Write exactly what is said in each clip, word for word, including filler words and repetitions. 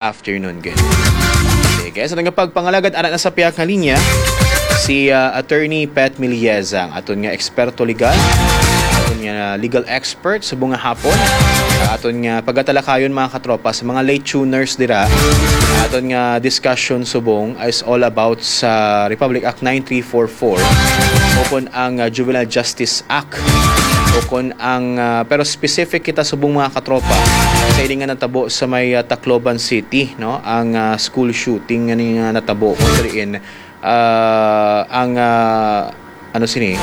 afternoon gid. Sige, sa aton nga pagpangalagad, ara na sa pihak nga linya si, ah, Attorney Pet Milieza, ang aton nga eksperto legal, aton nga legal expert subong nga hapon. Ang aton nga pagatalakayon, mga katropa, sa mga late tuners dira, ang aton nga discussion subong is all about sa Republic Act nine three four four o kon ang, ah, Juvenile Justice Act o kon ang, ah, pero specific kita subong, mga katropa, sa ini nga natabo sa may, ah, Tacloban City, no? Ang, ah, school shooting nga ni nga natabo kung diin, ah, ang, ah, ano sini?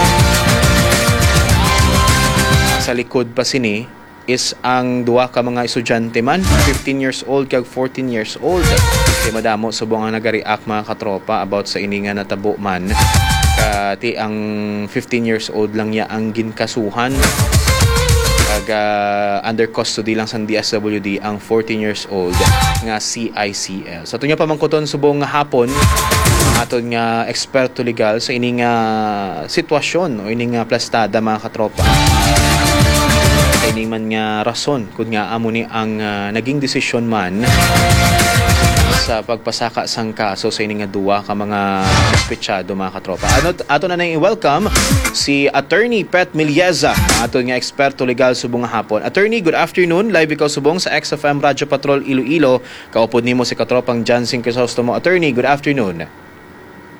Sa likod pa sini is ang duha ka mga estudyante man, fifteen years old kag fourteen years old. Kay madamo subong ang nagareact, mga katropa, about sa ini nga natabo man. Kati ang fifteen years old lang niya ang ginkasuhan. Kag, ah, under custody lang sa D S W D ang fourteen years old nga C I C L. Sa aton nga pamangkuton subong nga hapon, ang aton nga eksperto legal sa ini nga sitwasyon o ini nga plastada, mga katropa. Sa ini man nga rason, kun nga amo ni ang, ah, naging desisyon man sa pagpasaka sang kaso sa ini nga duwa ka mga suspetsado, mga katropa. Ano, ato na nang i-welcome si Attorney Pet Milieza, ang aton nga eksperto legal subong nga hapon. Attorney, good afternoon. Live ikaw subong sa X F M Radyo Patrol Iloilo. Kaupod nimo si katropang Jansen Crisostomo. Attorney, good afternoon.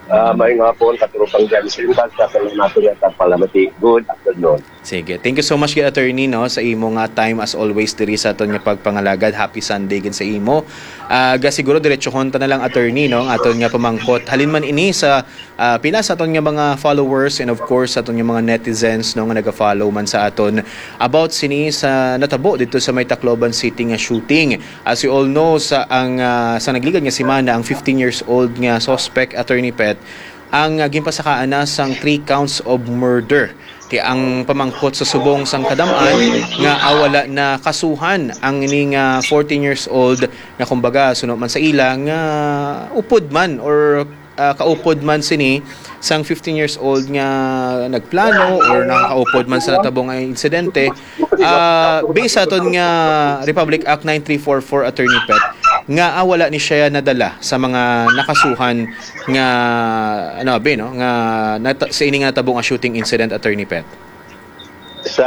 Ah, maayong hapon, katropang Jansen. Basta sa mga nato nga tagpalamati. Good afternoon. Sige. Thank you so much gid, Attorney, no, sa imo nga time as always diri sa aton nga pagpangalagad. Happy Sunday gid sa imo. Ah, ga siguro diretsohon ta na lang, Attorney, no, ang aton nga pamangkot. Halin man ini sa, ah, pila sa aton nga mga followers and of course sa aton nga mga netizens, no, nga naga-follow man sa aton about sini sa natabo dito sa may Tacloban City nga shooting. As you all know, sa ang, ah, sa nagligad nga semana, ang fifteen years old nga suspect, Attorney Pet, ang, ah, ginpasakaan na sang three counts of murder. Kay ang pamangkot sa subong sang kadam-an nga, ah, wala na kasuhan ang ining, ah, fourteen years old nga, kumbaga, suno man sa ila nga upod man or, ah, kaupod man sini sang fifteen years old nga nagplano or nakaupod man sa natabong nga insidente. Ah, based sa aton nga Republic Act nine three four four, Attorney Pet, nga, ah, wala ni siya nadala sa mga nakasuhan nga, ano, abi, no, nga nata-, sa ini nga natabo nga shooting incident, Attorney Pet? Sa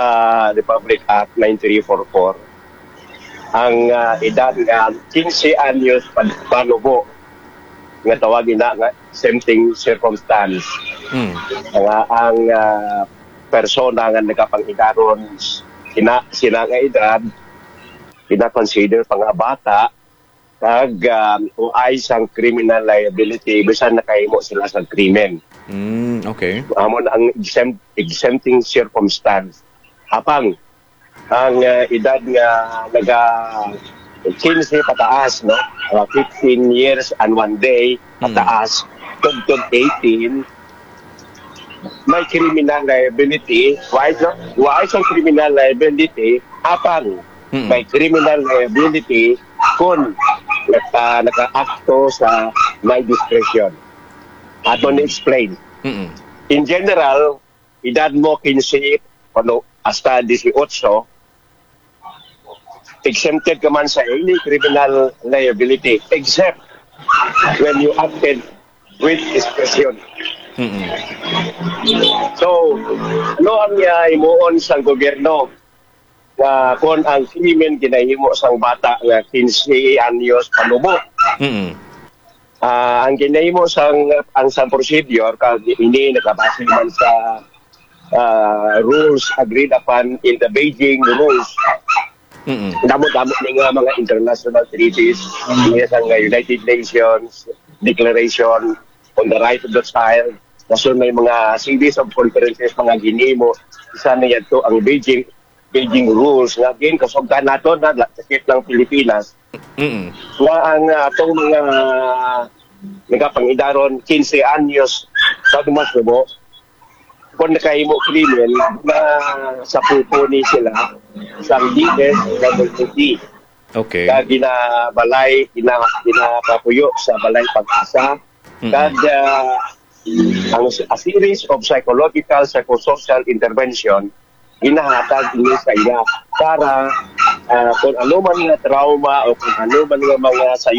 Republic Act nine three four four, ang, ah, edad nga quince anyos pa-, panubo, nga tawag ina nga exempting circumstance. Mm. Nga ang, ah, persona nga nagapang-edaron sina, sina nga edad, gina-consider pa nga bata, kag, ah, uay sang criminal liability bisan nakahimo sila sa krimen. Mm, okay. Amo na ang exempt-, exempting circumstance. Apang ang, ah, edad nga naga quince pataas, no? Ah, fifteen years and one day Mm. pataas, tubtob eighteen, may criminal liability. Why, no? Why sa criminal liability? Apang Mm. may criminal liability kung naka-, naka-akto sa may discretion. Ato Mm. ni-explain. Mm. In general, edad mo quince, ano, hasta dieciocho, exempted ka man sa any criminal liability, except when you acted with discretion. Mm-mm. So, ano ang, ah, himuon sang gobyerno nga kung ang krimen ginahimo sang bata nga quince anyos panubo? Mm-mm. Ah, ang ginahimo sang, ang sang procedure, kag ini nakabase man sa, ah, rules agreed upon in the Beijing rules. Mm-mm. Damo-damo ni nga mga international treaties, niya sang United Nations Declaration on the Right of the Child. Kaso may mga series of conferences, mga ginimo, isa na yadto ang Beijing, Beijing rules nga gin kasugdan nato na la-, sakit ng Pilipinas. Mm-mm. Nga ang, ah, atong mga nagapangidaron quince anyos pag masubo, kung nakahimo krimen, na sa pupo ni sila sa D S W D. Okay. Kag ginabalay, gina-, ginapapuyo sa Balay Pag-asa. Mm-mm. Kag, ah, ang, a series of psychological, psychosocial intervention ginahatag ini sa ila para ah, kung ano man nga trauma o kung ano man nga mga sayo